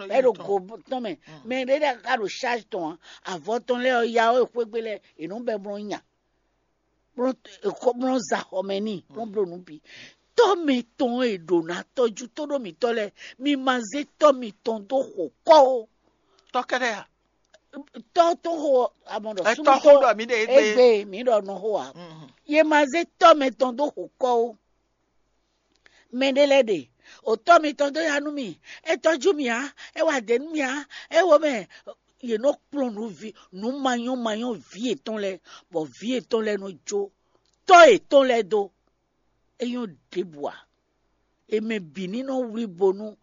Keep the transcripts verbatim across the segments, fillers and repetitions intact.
Bɛ ɖo go tɔn mɛ. Mɛ ɖé lɛ́ɛ ka ɖo charge tɔn ǎ. Avɔ tɔn lɛ́ɛ ɔ́, ya ɔ́, xwégbe lɛ́ɛ è nɔ bɛ blɔ́ nya, blɔ́ za xɔ mɛ n'i, blɔ́ bló nǔ bǐ. Tɔ́ mɛtɔn e ɖo ná tɔ́jú tóɖó mǐtɔn lɛ́ɛ, mi ma zé tɔ́ mitɔn dó xo kɔ́ ó. Tɔ́ kɛ́ɖɛ́ a? Tɔ́ tɔn xo amɔ ɖɔ Ɛ súnmọ́ tɔ́ xo ɖɔ mǐ ɖe égbé. Égbé mǐ ɖɔ nɔ xo ǎ. Ye ma zé tɔ́ mɛtɔn dó xo kɔ́ ó. Mɛ ɖé lɛ́ɛ ɖe, o tɔ́ mitɔn dó ya nú mì, é tɔ́jú mì ǎ, é wa dě nú mì ǎ, é wo mɛ. Yě nɔ kplɔ́n nǔ vi nǔ manyɔ́manyɔ́ vǐ yětɔn lɛ́ɛ, bɔ vǐ yětɔn lɛ́ɛ nɔ jó tɔ́ yětɔn lɛ́ɛ dó. É nyɔ́ ɖěbǔ ǎ. È mɛ bǐ ní nɔ wlí bo nú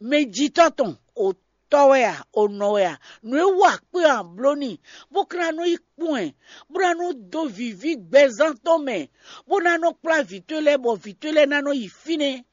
mɛjitɔ́ tɔn, o tɔ́ wɛ a, o nɔ wɛ a, nǔ e wa kpé ɔ́ a bló n'i, bó ka ná nɔ yi kpɔ́n ɛ, bó ná nɔ dó vǐví gbɛzán tɔn mɛ, bó ná nɔ kplá vǐ towe lɛ́ɛ, bɔ vǐ towe lɛ́ɛ ná nɔ yi fínɛ́,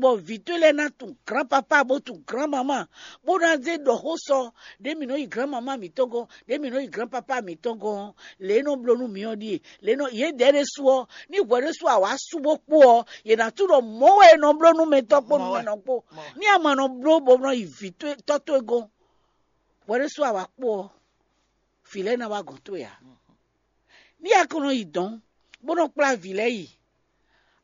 bɔ vǐ towe lɛ́ɛ ná tunwun grǎnpapá bó tunwun grǎnmamá, bó ná zé ɖɔ xó sɔ ɖě mǐ nɔ yi grǎnmamá mǐtɔn gɔ́n, ɖě mǐ nɔ yi grǎnpapá mǐtɔn gɔ́n ɔ́, lě e nɔ bló nú mǐ ɔ́ ɖíe. Lě e nɔ yědɛɛ ɖésú ɔ́, ní hwɛ ɖésú a wǎ sú bó kpó ɔ́, yě ná tunwun ɖɔ mɔ̌ wɛ è nɔ bló nú mɛtɔ́ kpó nú mɛnɔ kpó. Ní a ma nɔ bló bó nɔ yi vǐ towe tɔ́ towe gɔ́n, hwɛ ɖésú a wǎ kpó ɔ́, vǐ lɛ́ɛ ná wá gɔ̌n towe ǎ. Ní a ko nɔ yi dɔ̌n, bó nɔ kplá vǐ lɛ́ɛ yi,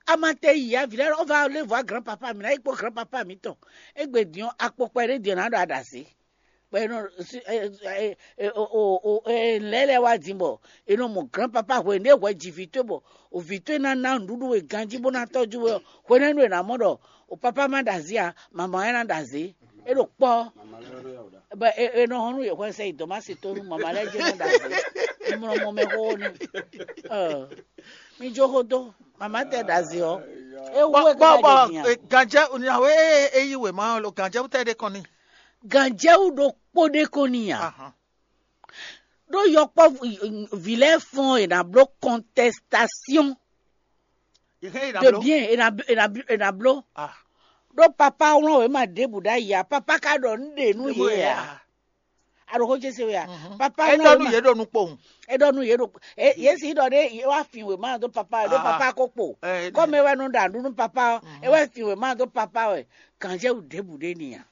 a ma tɛ yi ǎ, vǐ lɛ́ɛ ɔ́ va lé vɔ̌ grǎnpapa mǐ ná yi kpó grǎnpapa mǐtɔn. Égbé din ɔ́, akpokpɛ ɖé din ɔ́ ná ɖo aɖazě. Bɔ è nɔ lɛ́ lɛ́ɛ wá din bɔ è nɔ mɔ grǎnpapa hwenu ɖé hwɛ ji vǐ towe bɔ vǐ towe ná ná nǔɖuɖu we ganjí bó ná tɔ́jú we ɔ́, hwenɛ́nu è nǎ mɔ ɖɔ o papá má ɖo azǐ ǎ, mama wɛ ná ɖo azǐ. É ɖo kpɔ́. Bɔ è nɔ hɔn nú yě hwɛ sɛ yi dɔ̌mási tó nú mama lɛ́ɛ jɛ́n nɔ ɖo azǐ. Mlɔ mɔ mɛ xóxó n'i. Mi jó xó dó, mama tɛ ɖo azǐ ɔ́, é wú é gbá ɖe din a? Ganjɛ nyawe e yi wěma ɔ́ lo ganjɛ wú tɛ ɖe kɔn ni. Ganjɛ wú ɖokpó ɖe kɔn ni a? Ɖó yɔkpɔ́vú vǐ lɛ́ɛ fɔ́n è nǎ bló contestation de bien è nǎ bló. Ɖó papa wlɔ́n wěma ɖěbǔ ɖ'ayǐ ǎ, papa ka ɖɔ nǔ ɖe nú yě ǎ. A ɖo xó ce se wɛ a? Papa é wlɔ́n ɖɔ nú wěma yě ɖo nukpowun. É ɖɔ nú yě ɖo yě si ɖɔ ɖé yě wá fin wěma dó papa wɛ ɖó papa ko kpo. Kɔ́mɛ wɛ nɔ ɖa nǔ nú papa ɔ́, é wɛ fin wěma dó papa wɛ. Gǎnjɛwú ɖěbǔ ɖé ni a?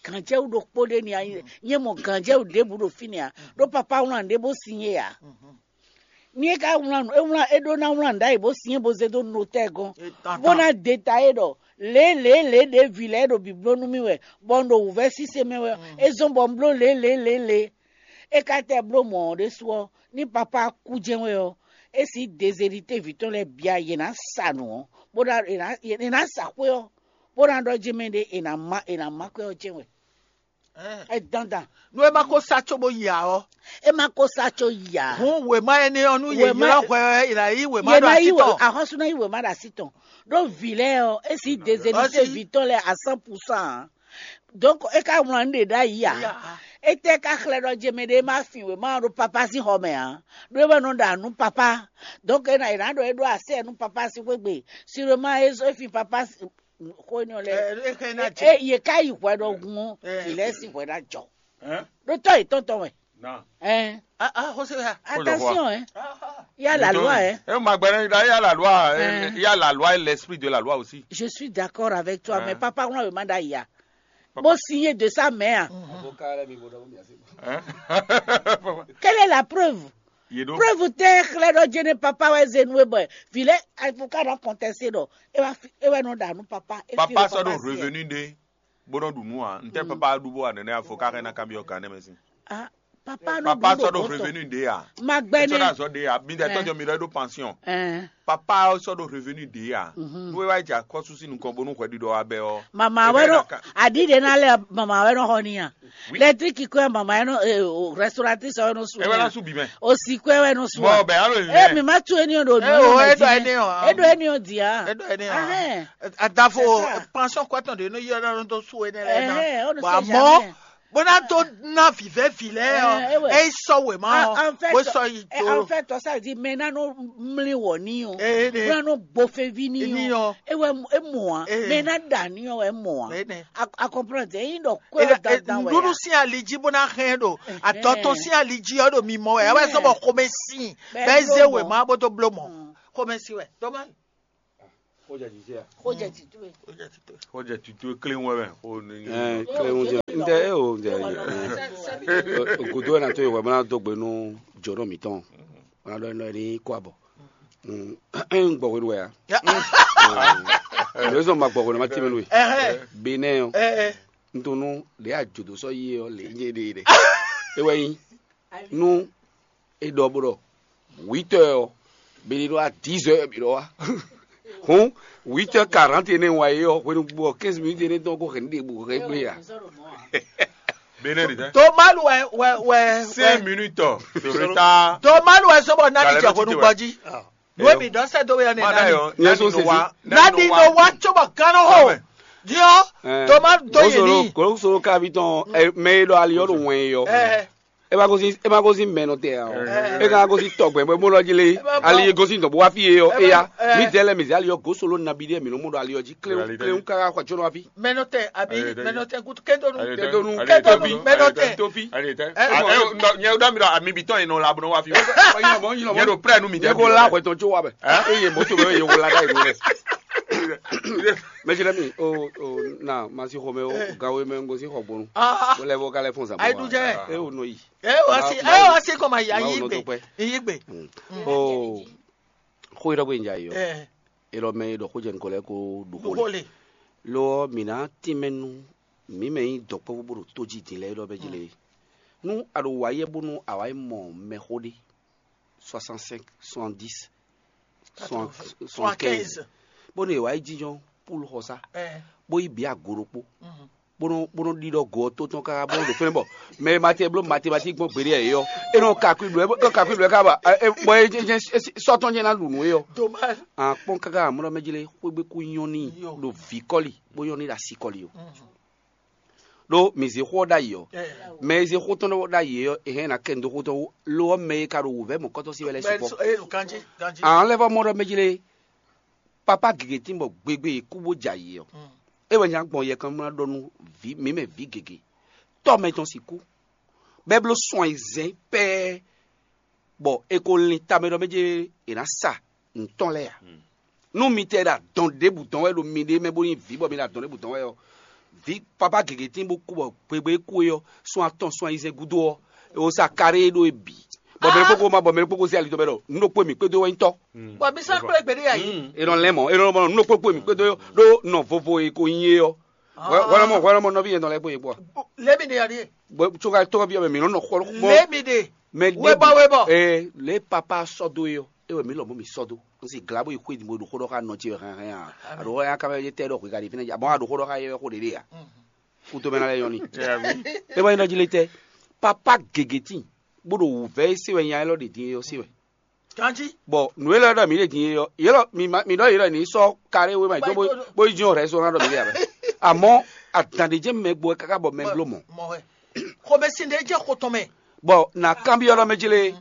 Gǎnjɛwú ɖokpó ɖé ni a? Nyɛ mɔ gǎnjɛwú ɖěbǔ ɖo fínɛ́ a? Ɖó papa wlán ɖé bó sin é a? Ní é ka wlán nǔ é wlán é ɖó ná wlán nǔ ɖ'ayǐ bó sin é bó zé dó notɛ́ gɔ́n, bó ná detayé ɖɔ lě lě lě ɖě vǐ lɛ́ɛ ɖo bǐbló nú mì wɛ, bɔ un ɖo wǔvɛ́ síse mɛ wɛ, é zɔ́n bɔ un bló lě lě lě lě. É ka tɛ bló mɔ̌ ɔ́ ɖésú ɔ́, ní papá kú jɛ́n wɛ ɔ́, é sí dezedité vǐ tɔn lɛ́ɛ bia yě ná sa nǔ ɔ́, bó ná è nǎ sa xwé ɔ́, bó ná ɖɔ jɛ́n mɛ ɖé è nǎ má è nǎ má kwɛ́ ɔ́ jɛ́n wɛ. Ɛ dandan. Nú é má kó sá cóbó yi ǎ ɔ́, é má kó sá có yi ǎ. Hǔn wěma énɛ́ ɔ́ nú yě Wěma- ylɔ́ hwɛ ɔ́, è nǎ yí wěma Yě ɖo ná así yí wě tɔn. Ahɔ́sú ná yí wěma ɖo así tɔn. Ɖó vǐ lɛ́ɛ ɔ́, é sí dezedité Ɔ́ sí. Vǐ tɔn lɛ́ɛ à cent pour cent ǎ. Donc é ka wlán nǔ ɖé ɖ'ayǐ ǎ. Yá. Étɛ́ ka xlɛ́ ɖɔ jɛ mɛ ɖé má fin wěma ɔ́ ɖo papá sín xɔ mɛ ǎ. Ɖó é wɛ nɔ ɖa nǔ papá. Donc é ná è nǎ ɖɔ é ɖó asɛ nú papá sín xwé gbe. Sûrement é zɔ́ é fin papá sín xó énɛ́ ɔ́ lɛ́ɛ. Ɛ, é xɛ ná É- jɛ. É- Yě ká yi hwɛ ɖɔhun ɔ́, Ɛ. Vǐ lɛ́ɛ sín hwɛ ná jɔ. Hein? Ɖó tɔ́ yětɔn tɔn wɛ. Non. Hein? Ah, ah, José, ah. Attention, hein. Ah, ah. Il y a la loi, hein. Eh, ma gbɛnɛ da, il y a la loi, eh, Hein. Il y a la loi et l'esprit de la loi aussi. Je suis d'accord avec toi, Hein. Mais papa, on a demandé à Iya. Papa. Bon, signé de sa main. Hein? Quelle est la preuve? Yedo. Preuve tɛ xlɛ ɖɔ jɛnɛ papa wɛ zenu e bɔ vile avocat nɔ contesté ɖɔ e wa fi e wɛ nɔ ɖa nu papa e fi Papa ɖo sɔ ɖo papa si ɛ. Revenu ɖe bó nɔ ɖu nu a ntɛ papa ɖu bó wa nɛnɛ avocat xɛ na kanbiɔ kan nɛ mɛ si. Ah, papa nɔ Papa ɖu sɔ ɖo ɖo revenu ɖe a. Magbɛnɛ. Sɔ ɖo azɔ ɖe a mi ɖe tɔjɔ mi ɖɔ ɖo pension. Ɛn. Papa sɔ ɖo revenu ɖe a. Mhm. Nu e wa dza kɔsu si nukɔn bonu hwɛ ɖiɖɔ wa bɛ ɔ. Mama Ebe wɛ nɔ na ka- Aɖi ɖe na lɛ mama wɛ nɔ xɔ ni a. Oui. Lɛtriki kɔ mama wɛ nɔ eh, o restauratrice wɛ nɔ su. Ebe na su bi mɛ. O si kɔ wɛ nɔ su. Mɔ bɛ alo Eh, mi mi ma tu eni o do Eh, o, eɖo eni o, a. Eɖo eni o. Ahɛn. Adafo C'est ça. Pension kɔ tɔn de no yɔ na to su ene lɛ Ɛhɛn, on ne na. Sait Bon, jamais. Àmọ́ bó ná tó ná vǐvɛ́ vǐ lɛ́ɛ ɔ Ɛ, é wɛ. É sɔ wè má Ah, ɔ en fait, bó sɔ yi eh, tó. En fait, ça veut dire maintenant nous mli wɔ ni o. Eh, eh, eh. Bóná nɔ gbɔ fɛn vi ni Ni o. O. E wɛ e mɔ a. Eh. Mɛ na da ni o e mɔ a. Eh, ne. A a comprendre e yin dɔ kɔ Ela- da eh, da wɛ Nɖuɖu a. Sin ali jí bó ná xɛn ɖo Ɛhɛn. Atɔtɔ sin ali jí ɔ ɖo mi mɔ wɛ ɛ wɛ sɔ bɔ xɔmɛ sin Bɛ bɛ bló zé wè mɔ. Má bó tó bló mɔ Mm. Xɔmɛ sin wɛ tɔmɛ. Xó jɛ jijɛ a? Xó jɛ tito e. Xó jɛ tito e kléwún wɛ mɛ. Xó ní. Ɛɛ, kléwún jɛ. N tɛ e o n tɛ e. Godo wɛ na to yi wɛ bana dó gbe nú jɔnɔ mǐtɔn. Bana dɔ nɔ ní kó abɔ. N gbɔ hwenu wɛ a? Lóye sɔn ma gbɔ hwenu ma tɛmɛ nú we. Benɛ ɔ. N to nú ɖe ajodo sɔ yi ɔ lě nyɛ ɖe ɖe. E wɛ nyi nú e ɖɔ bó ɖɔ huit heures ɔ, bɛ ɖi ɖɔ à dix heures bǐ ɖɔ wá. Hǔn, huit heures quarante énɛ́ wá é ɔ́, hwenu gbo ɔ́, quinze minutes énɛ́ tɔn ko hɛn ɖe bǔ hɛn gblé a? Benɛ ɖi tɛ. Tomalu wɛ wɛ wɛ. Cinq minutes de retard. Tomalu wɛ sɔbɔ nani jɛ hwenu gbɔji. Nue mi dɔ sɛ do wɛ ne nani. Nani no wa cobɔ gánɔ ho. Diɔ Tomalu do yi ni. Gosolo kavi tɔn mɛ e ɖɔ ali ɔ́ ɖo wɛn e ɔ. E ma gosin e ma gosin mɛ nɔ tɛ ya o. E ka gosin tɔgbɛ bɔ mo lɔ jele ali e gosin dɔn bo wa fi ye yɔ eya. Mi dɛ lɛ mi zɛ ali yɔ gosolo nabi de mi nɔ mo dɔ ali yɔ ji klewu klewu kaka xɔ tsɔnɔ wa fi. Mɛnɔtɛ abi mɛnɔtɛ gutu kedonu. Kedonu. Kedonu. Mɛnɔtɛ. Tofi. Nyɛ ɖɔ mi ɖɔ ami bitɔn yi nɔ la bɔ nɔ wa fi. Nyɛ ɖo prɛ nu mi jɛ. Ko la xɔtɔn tso wa bɛ. Eye moto bɛ ye ko la da yi do rɛ. Mɛsirɛ mi o o na masi xɔmɛ o gawo mɛ n gosi xɔ gbɔnu. Ko lɛ bɔ ka lɛ fɔn zan. Ayi dujɛ. E o nɔ yi. E o asi e o asi kɔma yi ayi gbe. Yi gbe. O xo yi dɔ ko yin ja yi o. E lɔ mɛ e dɔ ko jɛ nukɔ lɛ ko ɖu xo le. Lo ɔ mi na tin mɛ nu mi mɛ yi dɔkpɔvu bo ɖo to ji din lɛ e lɔ bɛ ji le. Nu a ɖo wa yɛ bonu a wa yi mɔ mɛ xo ɖe. Soixante-cinq, soixante-dix, soixante-quinze. Bó nɔ è wǎ yi jínjɔ́n Pulu xɔsá, bó yi bǐ ago ɖokpó, bó nɔ bó nɔ ɖiɖɔ go ɔ́ tó tɔn káká bó nɔ ɖo fɛ́nɛ bɔ mɛ e ma tɛ bló matematík gbɔn gbeɖé ɛ é ɔ́, é nɔ ka kwíblɔ́ é nɔ ka kwíblɔ́ é ká ba bɔ é jɛ́n sɔ́ tɔn jɛ́n ná ɖu nǔ é ɔ́. À kpɔ́n káká amlɔ mɛ jlé xwé gbe kú nyɔ́ n'i ɖo vǐ kɔ́li bó nyɔ́ n'i ɖo asi kɔ́li ó. Ɖó mǐ zé xó ɔ́ ɖ'ayǐ ɔ́, mɛ e zé xó tɔn ɖ'ayǐ é ɔ́, è hɛn ná kɛ nǔɖoxótɔ́ wú; lo ɔ́, mɛ e ka ɖo wǔvɛ́ mɔ̌kɔ́tɔ́ sí wɛ lɛ́ɛ sukpɔ́. Àwọn lɛ́ vɔ́ mɔ ɖɔ mɛ jlé papá gěgé tín bɔ gbegbe e kú bó jɛ ayǐ ɔ́, é wɛ nya gbɔn yɛkɔn ná ɖɔ nú mǐ mɛ vǐ gěgé. Tɔ́ mɛ tɔn sixú bɔ é bló sun ayizɛ́n pɛ́ɛ́ bɔ è ko lin tamɛ ɖɔ mɛ jlé è nǎ sa nǔ tɔn lɛ́ɛ ǎ. Nú mi tɛ ɖo adɔn ɖěbǔ dɔn wɛ ɖo miɖée mɛ bó nyí vǐ bɔ mi ɖo adɔn ɖěbǔ dɔn wɛ ɔ́, vǐ papá gěgé tín bó kú bɔ gbegbe e kú é ɔ́, sun atɔn sun ayizɛ́n gúdo ɔ́, è ko sa kaɖée ɖó e bǐ. Bɔ mɛ ɖokpó ko ma bɔ mɛ ɖokpó ko zé ali dɔn bɛ ɖɔ nǔ ɖokpó e mǐ kpédó wɛ nyí tɔ́. Bɔ mi sɔ́ kplé gbeɖé yǎ yí. È nɔ lɛ́n mɔ̌, è nɔ mɔ nǔ ɖokpó kpó e mǐ kpédó ɖó nɔ vovo e ko nyí é ɔ́. Hwɛlɔmɔ hwɛlɔmɔ nɔví yɛn nɔ lɛ́ kpó yě kpó a? Lě mi ɖe ɔ́ ɖíe. Bɔ tso ka tɔ́ ví ɔ́ mɛ mǐ nɔ nɔ xɔ. Lě mi ɖe. Mɛ webɔ webɔ. Ee, lě papa sɔ́ dó é ɔ́, é wɛ mǐ lɔmɔ̌ mǐ sɔ́ dó. Un si glǎ bó yi xwé din bó ɖo xó ɖɔ xá nɔ ce wɛ hɛn hɛn a? A ɖo xó ya ká mɛ tɛ ɖɔ xwe ka ɖi fínɛ́, a mɔ a ɖo xó ɖɔ xá yɛ xó ɖě ɖe a? Kútomɛ ná lɛ yɔn ni. É wɛ nyí ɖɔ jí lé tɛ. Papa gěgé tín bó ɖo wǔvɛ́ e se wɛ nya élɔ́ ɖe din é ɔ́ se wɛ. Ganjí. Bɔ nǔ élɔ́ ɖɔ mǐ ɖe din é ɔ́, yě lɔ mi ma mi ɖɔ yě lɔ ní sɔ́ kaɖé wé ma yi dó bó bó yi jɔn rɛ̌ sɔ́ ná ɖɔ mǐ ɖe abɛ. Amɔ́ adǎn ɖé jɛ́n mɛ gbɔ wɛ káká bɔ mɛ bló mɔ. Mɔ wɛ. Xomɛsin ɖé jẹ́ xo tɔn mɛ. Bɔ nà kanbyɔ́ ɖɔ mɛ jlé.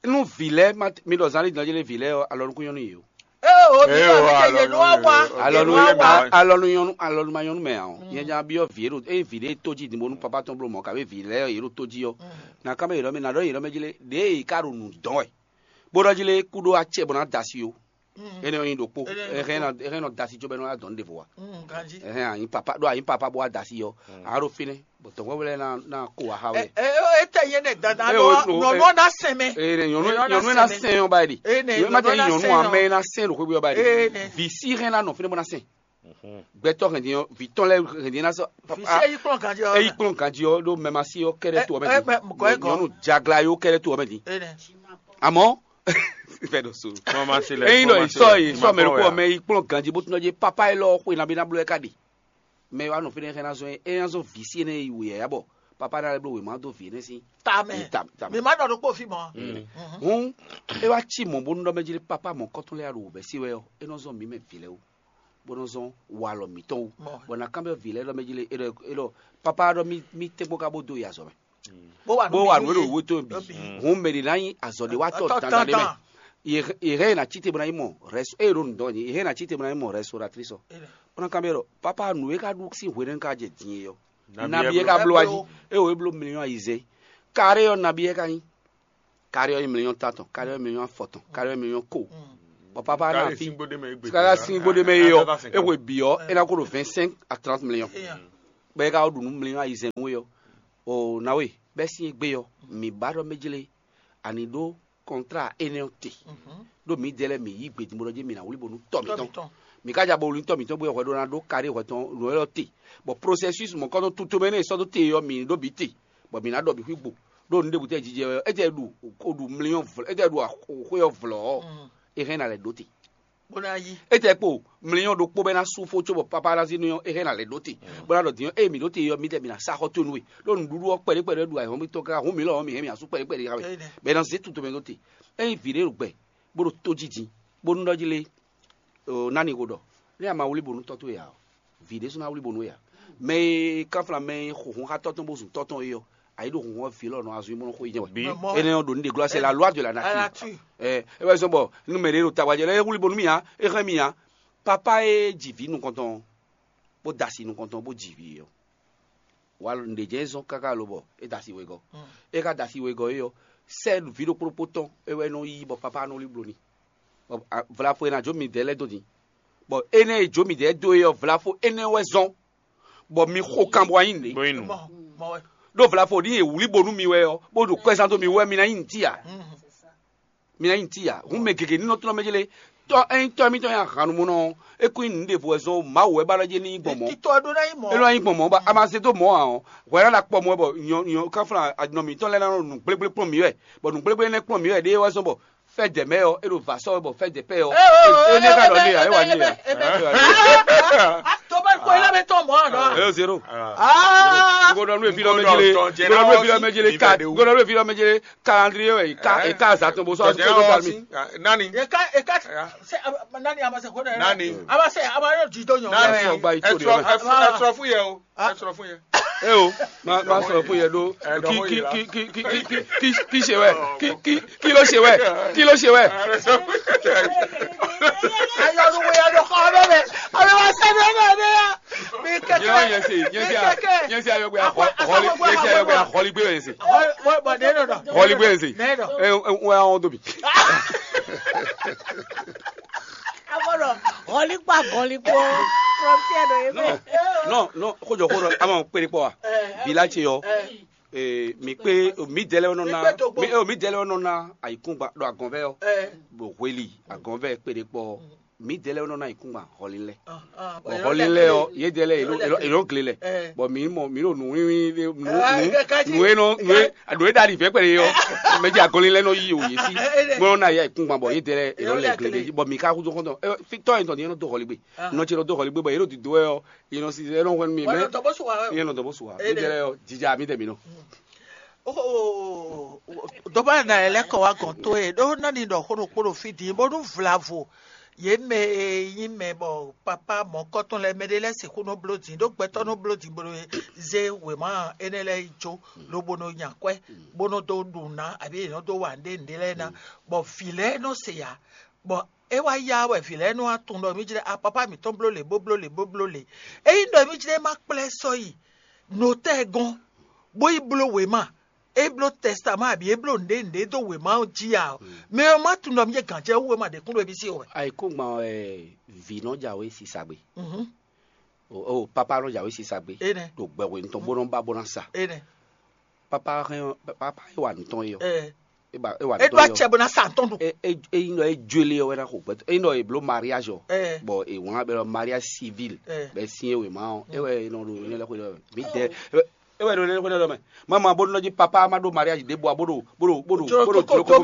Nú vǐ lɛ́ɛ ma mi ɖɔ zán lé din ɔ́ jlé vǐ lɛ́ɛ ɔ́, alɔ nukún nyɔ́ nú yě o. Ee o mi Ee, ma o, mi tɛ yě nú wa wa. Alɔ nu yé ma alɔ nu nyɔnu alɔ nu ma nyɔnu mɛ ǎ ɔ. Nyɛ nya byɔ vǐ e ɖo eye vǐ ɖe tó jí din bónú papa tɔn bló mɔ kabe vǐ lɛ́ɛ yě ɖo tó jí ɔ́. Na kan bɛ yě ɖɔ mɛ na ɖɔ yě ɖɔ mɛ jí lé ɖě yě ka ɖo nǔ dɔn wɛ. Bó ɖɔ jí lé kú ɖó acɛ bɔ ná da asi o. Énɛ́ ɔ́ nyí ɖokpó. Énɛ́ nyí Ɛhɛn ɖokpó. Nɔ- ɛhɛn nɔ da asi có bɛ nɔ wá dɔn ɖěvo wa. Ganjí. Ɛhɛn anyi papa ɖó anyi papa bó wá da asi ɔ́. A ɖo fínɛ́ bɔ dɔ̌nkpɛvú lɛ́ɛ ná ná kó wá xá wɛ. Ɛ ɛ ɛ tɛ yé nɛ dada Ɛ, nɔ o, o, nɔ ɛ. Nɔ na sɛn mɛ. Ee, nyɔnu Nyɔnu nyɔnu na na sɛn. Sɛn yɔ ba yi di. Ee, nɛ Nyɔnu ma nyɔnu tɛ na nyɔnu sɛn amɛ yɔ. Na sɛn ɖo xwé yɔ ba yi di. Ee, nɛ. Vi si hɛn na nɔ fínɛ́ bɔ na sɛn. Gbɛtɔ hɛn di yɔ, vi tɔn lɛ hɛn di na sɔ. Fi se yi kplɔn ganji ɔ. Eyi kplɔn ganji ɔ ɖo mɛmasi yɔ kɛɖɛ to ɔmɛ Ɛ, di. Ɛ, mɛ, mɔgɔ yɛ gɔ. Nyɔnu jagla yɔ kɛɖɛ to ɔmɛ di. Ee, nɛ. Amɔ fɛ ɖo so. Mama se lɛ. Eyin nɔ isɔ yi sɔ mɛ ko mɛ yi kplɔn ganji bó tún ɔdze papa yi lɔ xwe na bi na blɔ ɛ ka di. Mɛ wa nɔ fínɛ́ xɛ na zɔn é nya zɔn vǐ sí énɛ́ yi wǔ yɛ̌yá bɔ papa ná lɛ́ bló wěma dó vǐ énɛ́ sín. Tamɛ. Tam- tam- Mi ma ɖɔ ɖokpó fi mɔ. Hǔn é wá cí mɔ̌ bónú ɖɔ mɛ jlé papa mɔ̌kɔtɔn lɛ́ɛ ɖo wǔvɛ́ sí wɛ ɔ́, é nɔ zɔ́n mǐ mɛ vǐ lɛ́ɛ wú, bó nɔ zɔ́n walɔ mǐtɔn wú. Mɔ. Bɔ ná kán bɛ vǐ lɛ́ɛ ɖɔ mɛ jlé é ɖɔ é ɖɔ papa ɖɔ mí mí tɛ́nkpɔ́n ka bó dó yi azɔ̌ mɛ. Bó wa Bó wa nǔ e ɖo wúwe tó bǐ. Hǔn mɛ ɖě ná nyí azɔ̌ ɖé wá tɔ Tɔ dandan ɖé mɛ. dandan. Yě hɛn yě ná cí te bó ná nyí mɔ rɛso eye ɖo nǔ dɔn yě hɛn ná cí te bó ná nyí mɔ rɛso ɖo atrísɔ. Bó ná kán bɛ ɖɔ papa nǔ e ka ɖu sín hwenu ka jɛ din é ɔ́. Nabi e ka bló wá jí. Eye wòye bló miliyɔn ayizɛ́n. Kare ɔ́ nabi e ka nyí. Kare ɔ́ nyí miliyɔn tantɔn, kare ɔ́ nyí miliyɔn afɔtɔn, kare ɔ́ nyí miliyɔn ko. Bɔ papa na fi. Sikala sin gbódé mɛ yi ɔ, e xwe bǐ ɔ, é ná ko ɖo vingt cinq à trente millions. Bɔ é ka ɖu nú million ayizɛ́n nú we ɔ, o na we bɛ́ sín é gbé ɔ, mǐ ba ɖɔ mɛ jlé, ani ɖó kɔntrá énɛ́ ɔ́ te. Ɖó mǐdɛɛ lɛ́ɛ mǐ yí gbedun bó ɖɔ jí mǐ ná wlí bónú tɔ́ mǐtɔn. Mǐ ka ja bo wlí tɔ́ mǐtɔn bó wɛ hwɛ ɖó ná ɖó kaɖé hwɛ tɔn nǔ élɔ́ te. Bɔ processus mɔ̌kɔ́tɔn tutomɛ énɛ́ e sɔ́ dó te ɔ́, mǐ ɖó bǐ te, bɔ mǐ ná ɖɔ bǐ xwí gbo. Ɖó nǔɖé bǔ tɛ jijɛ ɔ́, é jɛ ɖu ko ɖu mlíɔ́n vlɔ́, é jɛ ɖu xwé ɔ́ vlɔ́ ɔ́, é hɛn ná lɛ́ ɖó te. Bó ná yí. É tɛ kpo mlíɔ́n ɖokpó bɔ é ná sú fó cóbɔ papá ná zí nú ɔ́, é hɛn ná lɛ́ ɖó te. Bó ná ɖɔ din ɔ́, ée mǐ ɖó te ɔ́, mǐdɛɛ mǐ ná sá xɔ towe nú we. Ɖó nǔɖuɖu ɔ́ kpɛɖé kpɛɖé ɖu ayǐhɔ́ngbe tɔn káká hǔn mǐ lɔ ɔ́, mǐ hɛn mǐ ná sú kpɛɖé kpɛɖé xá we. Bɔ é ná zé tutomɛ ɖó te. Ényí vǐ ɖé ɖo gbɛ, bó ɖo tó jí din, bó nú ɖɔ jí lé, nǎ ni xo ɖɔ, nɛ́ a ma wlí bónú tɔ́ towe ǎ ɔ́, vǐ ɖésú ná wlí bónú we ǎ. Mɛ e kanflan mɛ e xo hun xá tɔ́ tɔn bó zun tɔ́ tɔn é ɔ́, a yi ɖo hun ɔ́ vǐ lɔ nɔ azɔn yi bó nɔ xo yi jɛ́n wɛ. Énɛ́ ɔ́ ɖo nǔɖé glɔ́, c'est la loi de la nature. Ɛ é wɛ zɔ́n bɔ nú mɛ ɖé ɖo tawa jɛ lɛ́ɛ é wlí bónú mì ǎ, é hɛn mì ǎ. Papá e ji vǐ nukɔntɔn ɔ́, bó da asi nukɔntɔn bó ji vǐ ɔ́, wa nǔɖé jɛ́n é zɔ́n káká lobɔ é da asi wegɔ́. É ka da asi wegɔ́ é ɔ́, sɛ́ vǐ ɖokpó ɖokpó tɔn é wɛ nɔ yí bɔ papá nɔ wlí blo n'i. Vlafo e ná jó midɛɛ lɛ́ɛ dó din, bɔ énɛ́ e jó midɛɛ dó é ɔ́, vlafo énɛ́ wɛ zɔ́n, bɔ mi xo kan bɔ wá nyí nǔɖé. Ɖó vlafo ní e wlí bo nú mi wɛ ɔ́, bó ɖo kwɛ́zán dó mi wɛ, mi ná nyí nǔtí ǎ. Mi ná nyí nǔtí ǎ. Hǔn mɛ gěgé ní nɔ tlɔ́n mɛ jlé. Tɔ́ ényí tɔ́ émítɔn nyi ahannumúnɔ ɔ́, é kún nyí nǔ ɖěvo wɛ zɔ́n Mawu wɛ ba ɖɔ jé ní nyí gbɔn mɔ̌. Títí tɔ́ ɖó ná nyí mɔ̌. É nɔ nyí gbɔn mɔ̌, bɔ a ma zé dó mɔ̌ ǎ ɔ́, hwɛ ná ɖo akpɔ mɔ̌ wɛ bɔ nyɔ nyɔ káflán nɔ mǐtɔn lɛ́ɛ ná nɔ nǔgblégbé kplɔ́n mǐ wɛ, bɔ nǔgblégbé énɛ́ kplɔ́n mǐ wɛ ɖéé wɛ zɔ́n bɔ fɛ́ dɛ mɛ ɔ́, é ɖo vǎ sɔ́ wɛ bɔ fɛ́ dɛ pɛ ɔ́. Énɛ́ ka ɖɔ n'i ǎ, é wa n'i ǎ. Tó bá kó ilé mi tɔn mɔ̌ àná. Elo zéro. Ngo ɖɔ nú evi lɔ mɛ jele, ngo ɖɔ nú evi lɔ mɛ jele, ka ngo ɖɔ nú evi lɔ mɛ jele, calendrier wɛ, ka e ka azatɔn bo sɔ azu kpɛdɔ kalmi. Nani? E ka e ka se nani a ma se ko dɛ. Nani? A ma se a ma yɔ di dɔ nyɔ. Nani? Ɔgba yi to de. Ẹ sọ̀rọ̀ fún yẹ o. Ẹ sọ̀rọ̀ fún yẹ. E o, ma ma sọ̀rọ̀ fún yẹ ɖó. Kí kí kí kí kí kí kí kí kí ṣe wẹ? Kí kí kí ló ṣe wẹ? Kí ló ṣe wẹ? Ayọ̀dúnwó yẹn ló kọ́ ọ́ bẹ́ẹ̀ bẹ́ẹ̀. Ọ̀rẹ́ wa sẹ́ni ọ̀nà ẹ̀ dẹ́ yá. Mi kẹ̀kẹ́. Yẹn se, yẹn se, yẹn se ayọ̀gbẹ́ ahọ́lí, yẹn se ayọ̀gbẹ́ ahọ́lí gbé yẹn se. Bọ̀ dé dọ̀dọ̀. Hɔligbe eze. Nɛ dɔ. Ɛ ɛ ŋu ya wɔn dó mi. Abɔdɔ hɔlikpa gɔlikpo frontière ɖo ye mɛ. Non non, xojɔ xo ɖɔ ama kpéɖé kpɔ wa. Village yɔ. Ee mi kpé mi dɛlɛ nɔ na. Mi dɛlɛ nɔ na ayikungba ɖo agɔnvɛ yɔ. Ɖo hweli agɔnvɛ kpéɖé kpɔ. Mǐdɛɛ lɛ́ɛ nɔ ná yi kúngban hɔlilɛ. Hɔlilɛ ɔ́, yědɛɛ lɛ́ɛ yě nɔ gle lɛ, bɔ mǐ mɔ mǐ ɖo nǔwínwín ɖé nǔ nǔ e nɔ nǔ e nǔ e ɖo aɖi vɛ̌ kpɛɖé ɔ́, mɛ jɛ agɔnlin lɛ́ɛ nɔ yí o yě sí, bó nɔ́ ná yá yi kúngban bɔ yědɛɛ lɛ́ɛ yě nɔ lɛ gle ɖé jí, bɔ mǐ ka húzú xɔ́ntɔn tɔ́ e tɔn din é nɔ dó hɔligbe, nɔ ce nɔ dó hɔligbe bɔ yě ɖo dǐdó wɛ ɔ́, yě nɔ si é nɔ hwɛ́n nú mì mɛ, yě nɔ dɔn bó su wa wɛ, yě nɔ dɔn bó su wa, yědɛɛ lɛ́ɛ ɔ́, jija mǐdɛɛ mǐ nɔ. Dɔ̌bá ná lɛ́ kɔ wá gɔ̌n towe ɖó ná ní ɖɔ xó ɖokpó ɖo fí din bónú vlavo yě mɛ e nyí mɛ bɔ papá mɔ̌kɔ́tɔn lɛ́ɛ mɛ ɖé lɛ́ɛ sixú nɔ bló din ɖó gbɛtɔ́ nɔ bló din bó nɔ zé wěma énɛ́ lɛ́ɛ yi jó lobo nɔ nya kwɛ́ bó nɔ dó ɖu ná abǐ yě nɔ dó wa nǔɖé nǔɖé lɛ́ɛ ná bɔ vǐ lɛ́ɛ nɔ se ǎ bɔ é wá yá wɛ vǐ lɛ́ɛ nɔ wá tunwun ɖɔ mí jlɛ́ a papá mǐtɔn bló lě bó bló lě bó bló lě. Ényí ɖɔ mí jlɛ́ má kplá ɛ sɔ́ yi notɛ́ɛ gɔ́n bó yi bló wěma é bló tɛstamɔ́ abǐ é bló nǔɖé nǔɖé dó wěma ɔ́ jí ǎ ɔ́, mɛ ɔ́ má tunwun ɖɔ mí jɛ gǎn jɛ wú wěma ɖě kún ɖo émí sí wɛ. Ayǐkúngban wɛ vǐ nɔ jǎwe sisa gbe. O papa nɔ jǎwe sisa gbe. Ɖo gbɛhwenu tɔn bó nɔ ba bó ná sa. Papa hɛn papa e wa nǔ tɔn é ɔ́. É ba é wa nǔ tɔn é ɔ́. É ɖó acɛ bó ná sa tɔn ɖu. É é é nyí ɖɔ é jó lé ɔ́ wɛ ná xo gbɛtɔ é nyí ɖɔ è bló mariage ɔ. Bɔ è wlán bɛ ɖɔ mariage civil bɛ sín é wěma ɔ́ é wɛ è nɔ ɖo nyɛ lɛ xwe ɖɔ mí dɛ é wɛ ɖo nyɛ lɛ xwe ɖɔ mɛ. Mama bó nɔ jí papa ma ɖó mariage ɖé bɔ bó ɖo bó ɖo bó ɖo bó ɖo jlo koko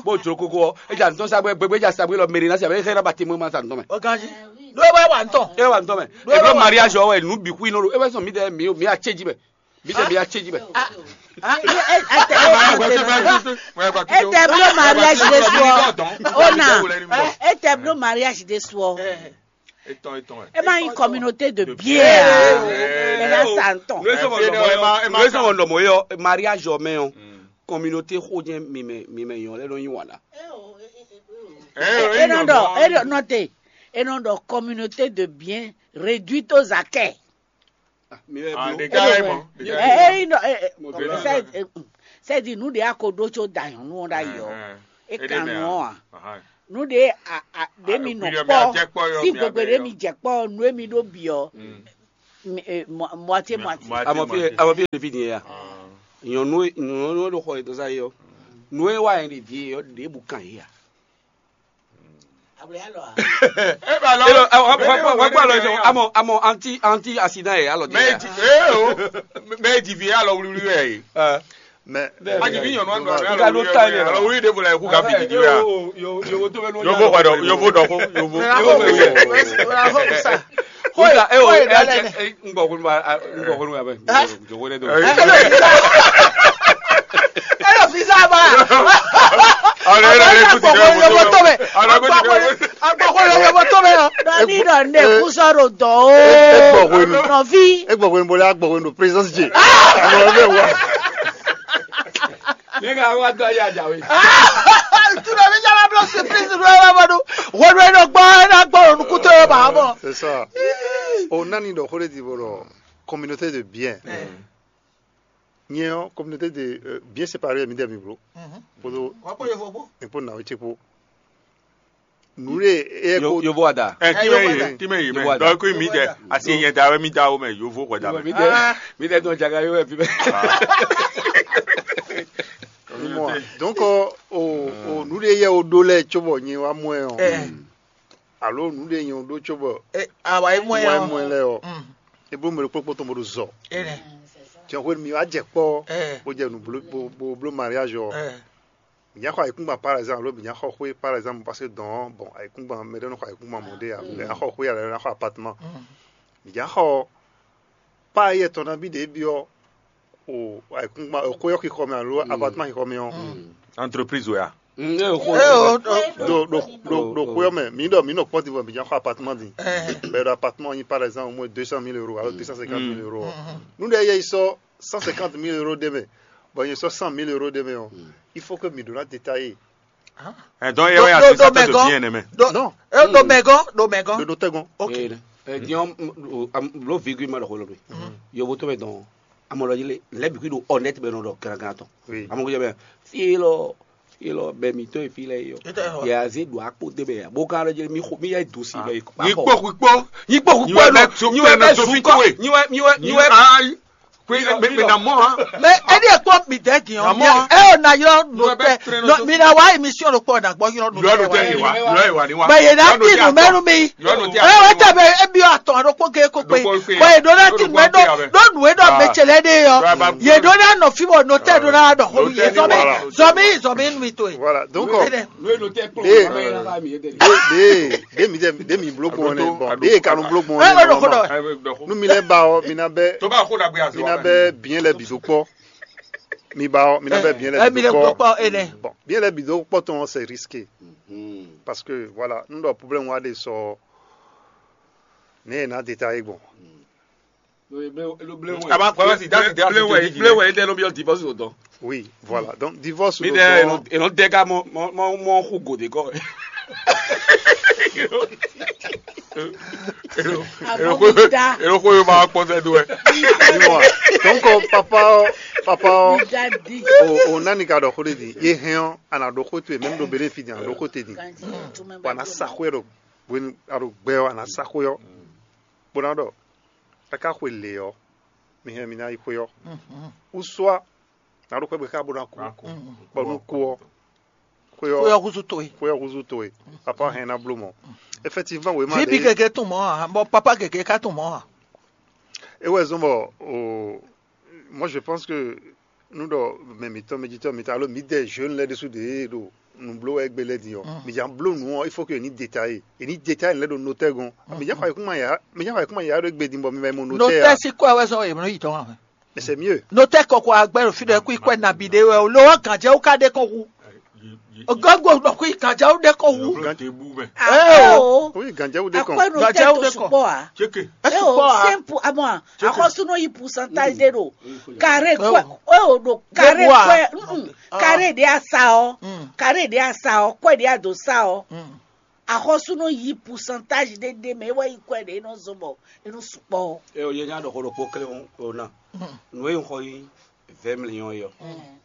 bó jlo koko ɔ é dza ntɔn sa gbɛ gbɛgbɛ dza sa gbɛ lɔ mɛri na sa bɛ xɛ na ba te mo ma sa ntɔn mɛ. Ɔganji ɖó é wá wà ntɔn. É wà ntɔn mɛ. È bló mariage ɔ wɛ nu bixu yi nɔ ɖo é wɛ sɔn mi dɛ mi mi acéji mɛ. Bísí mi achéjì mɛ. Ete blo mariage de sɔ. Ona. Ete blo mariage de sɔ. Etɔn etɔn ɛ. E ma yin communauté de bien. E na sa ntɔn. Nue sɔmɔ nɔmɔ yɔ mariage ɔ mɛ ɔ communauté xo jɛ mimɛ mimɛ yɔ lɛ nɔ yin wala. E nɔ dɔ e nɔ te e nɔ dɔ communauté de bien réduite aux acquêts. Eyi nɔ sɛdi nu de ako ɖo tso da nyɔnu ɔ ɖ'ayi ɔ e kan nu ɔ a. Nǔ ɖě a- a- ɖě mi nɔ kpɔ́ sín gbogbe ɖě mi jɛ kpɔ́ nǔ e mi ɖó bǐ ɔ́, moitié moitié. Amɔ fí amɔ fí ɖe fí din ya. Nyɔnu e- nyɔnu e ɖo xɔ yětɔn sa yé ɔ́, nǔ e wa nyɛ ɖe vǐ e ɔ́ ɖěbǔ kan yě a? Eba lɔ. Wá gbọ́ lọ sọ amọ amọ anti anti accident yɛ alɔ di. Mɛ e ji ee o mɛ e ji vi alɔ wluwlu yɛ ye. Mɛ a ji vi nyɔnu alɔ wluwlu alɔ wluwlu de bo la eku ka bi didi wa. Yovo kɔdɔ yovo dɔ ko yovo. Yovo yɛ. Wíwá ẹ o ẹ jẹ ẹ ń gbọ̀ kúrú ma ń gbọ̀ kúrú ma bẹ́ẹ̀. Jòkó lé dó. Ẹ lọ fi sábà. Ọ̀rẹ́ rẹ̀ lè kú ti dẹ́ Ọmọ tó bẹ̀. Ọmọ tó bẹ̀. Ọmọ tó bẹ̀. Dɔni dɔ ne kusɔro dɔ o. Nɔvi. E gbɔ hwenu bolo a gbɔ hwenu présence je. Àwọn ọmọ ẹ wà. Ní ká wá dọ́ yá jàwé. Tuna mi jẹ́ ma blọ́ surprise ló yẹ bá dún. Wọ́n ló yẹ gbọ́ ẹ náà gbọ́ ònú kútó yẹ bá mọ̀. C'est ça. O nani dɔ xó de ti bolo communauté de bien. Nyɛ ɔ́ communauté de euh, bien séparé mi dɛ mi blo. Kpódó Wọ́n kó yẹ fọ́ bó. Nkpó nà wé tsi kpó. Nǔ ɖe éyɛ kó Yovo ada. Ɛ tí mɛ yi tí mɛ yi mɛ dɔ kó mi dɛ asi yɛ da wɛ mi da wo mɛ yovo kɔ da mɛ. Mi tɛ dɔn jaga yóò fi bɛ. Mɔ donc o o nǔ ɖe yɛ o ɖó lɛ tso bɔ nyi wa mɔ ɛ ɔ alo nǔ ɖe nyi o ɖó tso bɔ Awa yi mɔ wa ya. mɔ ɛ lɛ ɔ e bó mɛ ɖo kpókpó tɔn bó ɖo zɔ Ene. tiɛ xwé mi wa jɛ kpɔ Eh. Bó jɛ nǔ blo bó blo mariage ɔ Eh. mi nya xɔ ayikúngban par exemple alo mi nya xɔ xwé par exemple parce que dɔn bon ayikúngban mɛ ɖe nɔ xɔ ayikúngban mɔ ɖe a mi nya xɔ xwé a lɛ na xɔ appartement mi nya xɔ pa yɛ tɔn na bi ɖe bi ɔ o ayikúngban o xwé ɔ xixɔ mi alo appartement xixɔ mi ɔ Entreprise o ya. Eh, oh, oh, do do do do xwé ɔ mɛ mi ɖɔ mi nɔ kpɔti vɔ mi nya xɔ appartement di eh. bɛ ɖo appartement yi par exemple au moins deux cent mille euros alo deux cent cinquante mille euros nu ɖe yɛ yi sɔ cent cinquante mille euros ɖe mɛ bon yi sɔ cent mille euros ɖe mɛ ɔ il faut que mi ɖo na détailler Ɛ dɔn yɛ wɛ ya ti sɔtɔ do diɲɛ nɛ mɛ. Do Non. eh, do mɛgɔn do mɛgɔn. Ɖo nɔtɛgɔn Ok. Diɔn blo virgule ma ɖɔ xɔ lɔ do. Yovo tó bɛ dɔn. Amɔ lɔ yele lɛ bi kui do honnête bɛ nɔ dɔ grangan tɔ. Oui. Amɔ ko jɛ bɛ fi lɔ fi lɔ bɛ mi to fi lɛ yɔ. Ita yɔ. Yɛ aze do akpo de bɛ ya. Bo ka lɔ jɛ mi xo mi yɛ do si bɛ. Nyi kpó kpó. Nyi kpo Nyi wɛ bɛ so- nyi wɛ bɛ so fi kó we. Nyi wɛ nyi wɛ nyi wɛ. Ayi. Kpé mɛ mɛ na mɔ hã. Mais ɛdi ekpɔ mi dɛ di ɔ Amɔ. ɛ o na yɔrɔ Yɔ bɛ notɛ trɛn nɔ nɔ mi na wa émission ɖo kpɔ na gbɔ yɔrɔ Yɔ no tɛ yi wa. notɛ Yɔ yi wa ni wa. mɛ yɛ na ti nu mɛnu mi Yɔ no tɛ ɛ wɛ tɛ bɛ ebi atɔ ɖo kpɔ ge ko kpe Ɖo kpɔ kpe. bɔ yɛ do na ti nu mɛ do do nu yɛ dɔ mɛ tsɛlɛ de yɔ Yɔ ba- yɛ do na nɔ fi bɔ notɛ do na dɔ xɔ mi yɛ zɔmi Voilà. zɔmi zɔmi nu mi to ye. Voilà, donc Nú euh, èlò tẹ́ pọ̀ Dé- wọ́n máa ń yẹ dẹ̀. de de de mi de de mi blo gbɔn ne bɔn de kanu blo gbɔn Ɛ ɛ ne dɔ ko bɔn dɔ nu mi lɛ ba ɔ mi na bɛ Tó bá kó dàgbé àti mi na bɛ biɲɛ lɛ bi do kpɔ mi ba ɔ mi na bɛ biɲɛ lɛ ɛ mi bi lɛ do gbɔ kpɔ kpɔ ene. Bon, biɲɛ lɛ bi do kpɔ tɔn c'est risqué parce que voilà n dɔ problème wa de sɔ ne yɛ na détailler gbɔn Aba kɔlɔ si dasi de ase te di Blé wẹ̀ ndé ló bí ɔ divorce ò dán. Oui, voilà. Donc divorce Mi do dɛ gbɔn ènò dɛ ká mɔ mɔ mɔ mɔ xu gòdè kɔ. Àmọ́ mi dá Èrò kó yóò máa pọ́n sẹ́dú ẹ̀. Dis-moi. Donc euh, papa euh, papa euh, mi dá di. o o nani ka dɔ xo de di ye hɛn ɔ ana dɔ xo to ye même do bele fi di ana dɔ xo te di Ganji, tu mɛ bɔn ana sa xo yɛ dɔ bɔn a dɔ gbɛ ɔ ana sa xo yɔ bɔn na dɔ aka xo le ɔ mi hɛn mi na yi xo yɔ ou soit na dɔ xo bɛ ka bɔ na ku bɔn nu ku ɔ xo Ko yɔ yɔ kusu to ye. xo yɔ kuzu to ye papa hɛn na blo mɔ effectivement wema Vipi de keke tun mɔ ha, bɔ papa keke ka tun mɔ ha. E wɛ zɔn bɔ o moi je pense que nu dɔ mɛ mitɔn mɛ jitɔ mitɔn alo mi dɛ jeune lɛ ɖesu de ɖo nublo wɛ gbe lɛ din ɔ mi jan blo nu ɔ il faut que ni détailler e ni détailler lɛ ɖo notɛ gɔn mi jan xɔ ayikuma ya mi jan xɔ ayikuma ya ɖo gbe din bɔ mi ma mo notɛ Notɛ ya si kɔ wɛ zɔn e mɔ yi tɔn ha. Mais c'est mieux Notɛ kɔkɔ agbɛ ɖo fi ɖe kú ikpɛ nabi ɖe wɛ o lo wɔ gànjɛ wo ka ɖe kɔn wu. Ogogo nɔ kú gànjɛ wo ɖe kɔn wu. Yóò tẹ bú mẹ́. Eh, o oui gànjẹ́ wo de kɔn akpɛnu Gàdjá tɛ wo to de kɔ. sukpɔ a Chéke. e o Sukpɔ a. Simple amɔ a akɔsunu yi pourcentage de do carré kɔ e o do carré Gbogbo a. Kɔɛ mm, carré de asa ɔ Mm. Carré de asa ɔ kɔɛ de ado sa ɔ Mm. akɔsunu yi pourcentage de de mɛ e wɔ yi kɔɛ de e nɔ zɔn bɔ e nɔ sukpɔ ɔ. Ɛ o yɛ nya ɖɔ xɔ ɖokpo kle o na. Nu e xɔ yi vingt millions yɔ.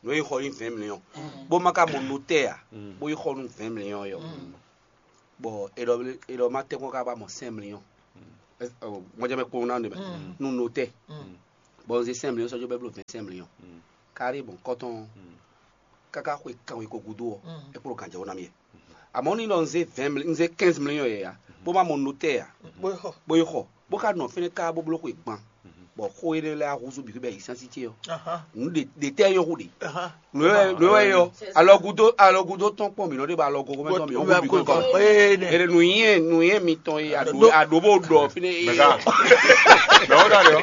Nu e xɔ yi vingt millions. Bó ma ka mɔ notɛ a. Bó yi xɔ nu vingt millions yɔ. Bɔ è ɖɔ è ɖɔ ma tɛ́nkpɔ́n ká ba mɔ cinq millions. Mɔjɛmɛ kpowun ná ɖe mɛ, nú notɛ́. Bɔ un zé cinq millions sɔ́ jó bɛ́ bló vingt-cinq millions. Kárí bɔn kɔ́tɔn káká xwe kanwe ko gúdo ɔ́, é kplɔ́n ganjɛwó ná mì wɛ. Amɔ̌ ní ɖɔ un zé vingt millions, un zé quinze millions yɛ ya, bó ma mɔ notɛ́ ya, bó yi xɔ, bó ka nɔ fínɛ́ ká bó bló xwe gban, bɔ xó énɛ́ lɛ́ɛ húzú bǐ xwé bɛ́ yi sín así ce ɔ́. Nǔ ɖe ɖe tɛ́ nyɔ́ xú ɖe. Nǔ e nǔ e wɛ yɔ alɔgúdó alɔgúdó tɔn kpɔn mǐ nɔ ɖe ba alɔgó mɛ tɔn mǐ ɔ́ xú bǐ kɔn. Ere nǔnyiɛ nǔnyiɛ mitɔn e aɖǒ aɖǒ bó ɖɔ fínɛ́ e. Mɛga. Mɛ wo ɖa ɖe ɔ.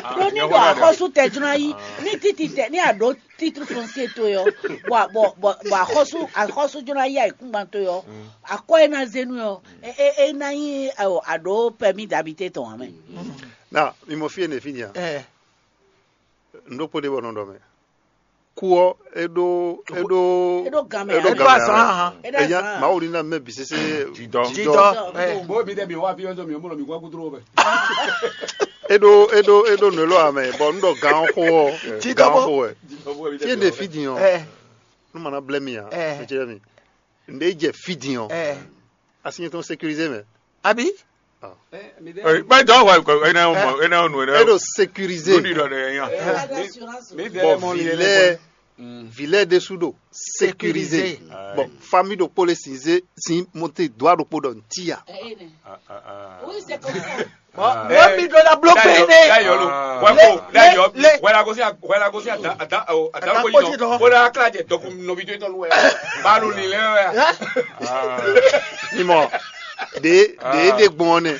Ɖó ní ɖo axɔ́sú tɛ jló ná yí ní títí tɛ ní aɖǒ titre foncier to yɔ bɔ bɔ bɔ bɔ axɔ́sú axɔ́sú jló ná yí ayǐkúngban to yɔ akɔ e ná zé nú yɔ e e e ná nyí aɖǒ permis d'habiter tɔn ame. Na mi mɔ fí e ne fí nya. Ɛ Un ɖó kpó ɖé bɔ nɔ ɖɔ mɛ. Kú ɔ́, é ɖó é ɖó Eɖo gan mɛ. Eɖo Eɖo gan mɛ azan ahan. Eɖo Enya azan. Mawu ní ná mɛ bǐ sésé Jidɔ. Jidɔ. Ɛ. Bó mi ɖe mi wá fi ɔ́ mi ɔ́ mɔ mi kú akútró wɛ. É ɖó é ɖó é ɖó nǔ élɔ́ amɛ bɔ un ɖɔ gan ɔ́ xó ɔ́ Jidɔ gan ɔ́ bó. Xó wɛ. Fí e ɖe fí din ɔ́ Ɛ. Nú ma ná blɛ́ mi ǎ. Ɛ. Ɛ jɛ mi. Nɖé jɛ fí din ɔ́ Ɛ. Asi nyɛ tɔn sécurisé mɛ. Abi. Bɛ dɔ wa ko ena o mo ena o nu ena. Eɖo sécurisé. Lórí dɔ de yan. Mi vɛ Bon mɔ li lɛ vilɛ vilɛ ɖésú ɖo sécurisé. Sécurisé. Bon famille ɖokpó le sin zé sin monté doigt ɖokpó ɖɔ ntí ya. Oui, c'est comme ça. Bon, mi ɖo la bloqué ne. Dayɔ lo. Wɛ ko dayɔ. Wɛ la gosi wɛ la gosi ada ada o ada ko yi dɔn. Wɛ la kla jɛ dɔkun nɔbi to tɔn wɛ. Ba lo li lɛ wɛ. Mimɔ ɖe ɖe ɖe gbɔn ne.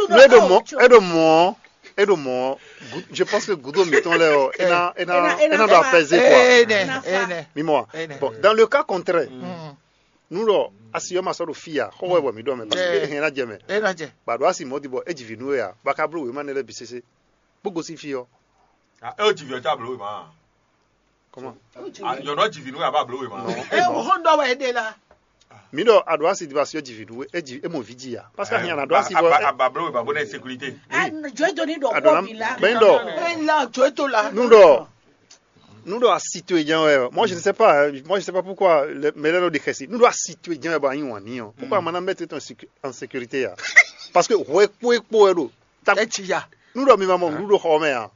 Nú é ɖo mɔ̌ é ɖo mɔ̌ é ɖo mɔ̌ gu- je pense que gudo mǐtɔn lɛ́ɛ ɔ é ná é ná é ná ɖo apɛzé quoi. Ene ene. Mimɔ wa Ene. Bon dans le cas contraire nú ɖɔ asi ɔ́ ma sɔ́ ɖo fí a xɔwɛ bɔ mǐ ɖɔ mɛ parce que é hɛn ná jɛ mɛ Ena jɛ. Ba ɖo asi mɔ̌ di bɔ é ji vǐ nú we a ba ka bló wěma nɛ lɛ́ɛ bǐ sésé bó gosín fí ɔ́. Ah, é o jìvì ɔtí ablo wema. Comment? Ah, yɔnɔ jìvì nú yaba ablo wema. Non. E o hɔn dɔ wɛ ɖe la. Mǐ ɖɔ aɖo asi di ba si ɔ́ ji vǐ ɖu é ji é mɔ vǐ ji ya parce que ahinya na ɖo asi vɔ Abablo wema bó nɛ sécurité. Jɔ do ni ɖɔ kɔ bi la. Bɛn ɖɔ Bɛn la jɔ to la. Nu ɖɔ nu ɖɔ asi to nya wɛ moi je ne sais pas hein, moi je ne sais pas pourquoi mɛ lɛ ɖo de xɛsi nu ɖɔ asi to nya wɛ bɔ anyi wɔn ni ɔ pourquoi a ma na mettre en sécurité ya parce que hwɛ kpo e kpo wɛ ɖo. Etsi ya. Nu ɖɔ mi ma mɔ nuɖuɖu xɔ mɛ a?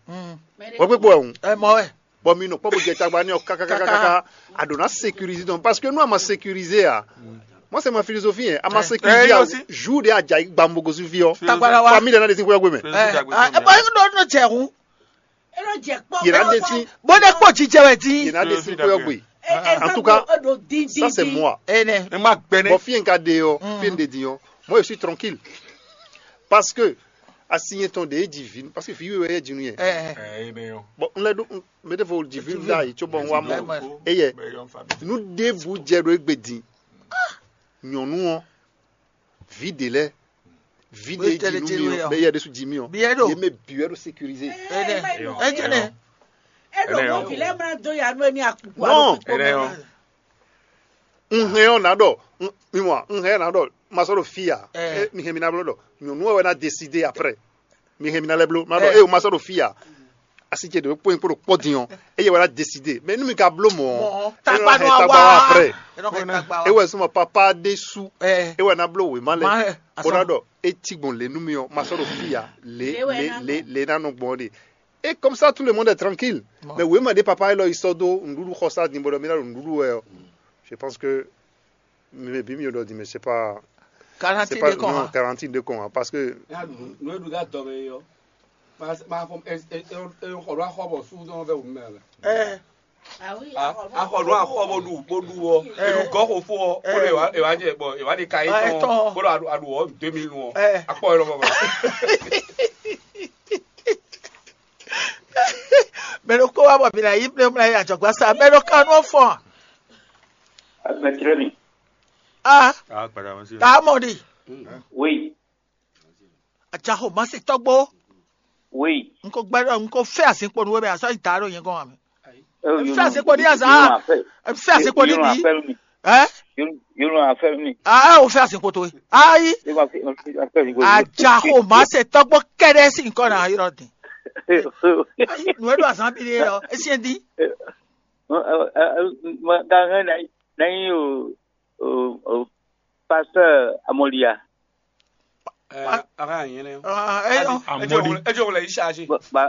Hwɛ kpekpe wɛ ŋu. Ɛ mɔ wɛ. Bɔ mi nɔ kpɔ bo jɛ tagba nɛ ɔ kakakakaka a ɖo na sécuriser donc parce que nous a ma sécuriser a. Moi c'est ma philosophie hein, a ma sécuriser a jour de a dza yi gbambo gosu fi ɔ. Tagba la wa. Famille de na de sin kuyɔ gbe mɛ. Ɛ ɛ bɔ e ɖo nɔ jɛ hu. Yɛrɛ de sin. Bó de kpɔ jijɛ wɛ di. Yɛrɛ de sin kuyɔ gbe. En tout cas ça c'est moi. Ene. Ema gbɛnɛ. Bɔ fi en ka de yɔ fi en de di yɔ. Moi je suis tranquille. Parce que asi yẹn tɔn de e ji vi parce que vi wíwɛ yɛ jinu yɛ. Ɛ ɛ. Ɛ ɛ bɛ yɔ. Bon n lɛ do n mɛ de fo ji vi da yi tso bɔn wa mɔ eyɛ nu de bu jɛ do egbe di nyɔnu ɔ vi de lɛ vi de jinu yɔ bɛ yɛ de su ji mi ɔ Biɛ do. Ye mɛ bi wɛ do sécurisé. Ɛ ɛ ɛ jɛ nɛ. E ɖo mɔ vi lɛ mla do ya nu eni akukua Non. Ɖo kpikpɔ Ene mɛ. Yɔ. Un hɛn ɔ́ ná ɖɔ un- mi mɔ un hɛn ɔ́ ná ɖɔ ma sɔ́ ɖo fí ya. Ɛ. Mi hɛn mi ná bló ɖɔ nyɔ̌nu ɔ́ wɛ ná décidé après. Mi hɛn mi ná lɛ́ bló ná ɖɔ Ɛ. Ée o ma sɔ́ ɖo fí ya. Asi ce ɖě kpó nyí kpó ɖo kpɔ́ din ɔ́ eye wɛ ná décidé mais nú mi ka bló mɔ̌ Mɔ̌, ɔ́, takpa é nɔ nɔ hɛn wá. Takpa wá après. É nɔ hɛn takpa wá. É wɛ súnmọ́ papa ɖésú Ɛ. É wɛ ná bló wěma lɛ Má hɛn bó ná asán. Ɖɔ é cí gbɔn lě nú mi ɔ́ ma sɔ́ ɖo fí ya lě Lě wɛ lě ná lě gbɔn. Lě ná nɔ gbɔn ɖe. Et comme ça tout le monde est tranquille. Bon. Mais wema de papa elo isodo ndudu xosa ni bodo mina ndudu we. Je pense que maybe mieux de dire mais c'est pas Quarante c'est pas de quoi, non hein? Quarante de quoi hein, parce que Nwe ɖu ɖe adɔ me yɔ. Ma ma fɔ e e e xɔ ɖo axɔ bɔ su dɔn vɛ wumɛ lɛ. Ɛ. Axɔ ɖo axɔ bɔ ɖu bɔ ɖu wɔ eɖu gɔ xo fo ɔ bɔ ɖo ewa ewa jɛ bɔ ewa de ka yi tɔn bɔ ɖo aɖu aɖu wɔ deux mille wɔ akpɔ yɔrɔ bɔ. Mɛ ɖokpó wá bɔ mǐ ná yí mlɛ́mlɛ́ yi adzɔ̌gbá sa mɛ ɖo ka nú ɔ́ fɔ́n. Mɛ tlɛ mi. A Ah, kpàdà wọn sí. Ta mɔ ɖi. Oui, Adzaxo Mase tɔgbo. Oui. N ko gbɛ ɖɔ n ko fɛ azinkpo nu we bɛ azɔ yi da ɖo nyɛ gɔn ame. N fɛ azinkpo ɖi azan. N fɛ azinkpo ɖi bi. Ɛ? Yóò afẹ́ mi. Ah o fɛ azinkpo to. Ayi. Yóò afẹ́ mi. Adzaxo Mase tɔgbo kɛɖɛ si nkɔ na yɔrɔ din. Ayi nu eɖo azan bi ɖe yɔ esi di. Gangan na yi o. o, o, pasteur Amolia. Ɛ, ara yẹn lɛ. Ah, ɛ, ɔ, Ẹ jẹ́ òun ẹ jẹ́ òun lẹ̀ yí ṣáṣe. Ba- ba-